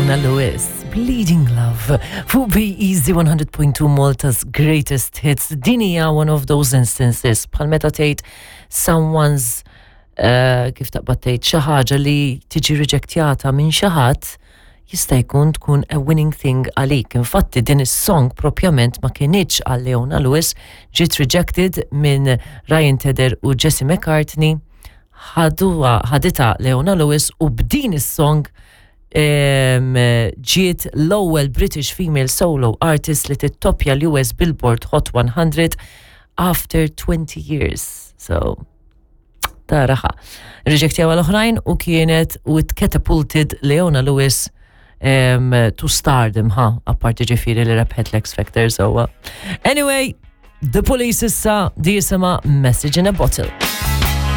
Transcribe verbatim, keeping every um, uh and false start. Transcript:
Leona Lewis, Bleeding Love, fuq Be Easy one hundred point two, Malta's greatest hits. Din hija one of those instances bħal meta tgħid someone's uh, kif taqbad tgħid, xi ħaġa li tiġi rejectjata minn xi ħadd jista' jkun tkun a winning thing għalik. Infatti din is-song propjament ma kinitx għal Leona Lewis, ġiet rejected minn Ryan Tedder u Jesse McCartney, ħaduha, ħaditha Leona Lewis u b'din is-song em, ġiet l-ewwel British female solo artist li tittopja l-U S Billboard Hot one hundred after twenty years. So, taraha. Rejectjaw l-oħrajn u kienet u it catapulted Leona Lewis um, to stardom, ha, apparti ġifieri li rebħet l-X Factor, so. Uh, anyway, The Police issa, di jisimha Message in a Bottle.